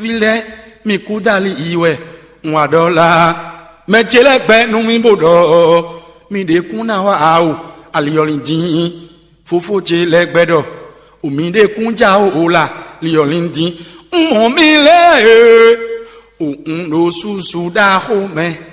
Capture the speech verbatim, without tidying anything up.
Fí lɛ́ɛ, mi kú dali yi wɛ, un wa ɖɔ lá. Mɛ ce lɛ́ɛ gbɛ nú mì bó ɖɔ: "Mi ɖě kún ná wá o, ali ɔ́ lin dín. Fofó ce lɛ́ɛ gbɛ ɖɔ: O mi ɖě kún já o o la, li ɔ́ lin dín. Un mɔ mi lɛ́ɛ e, o un ɖo susu ɖaxó mɛ."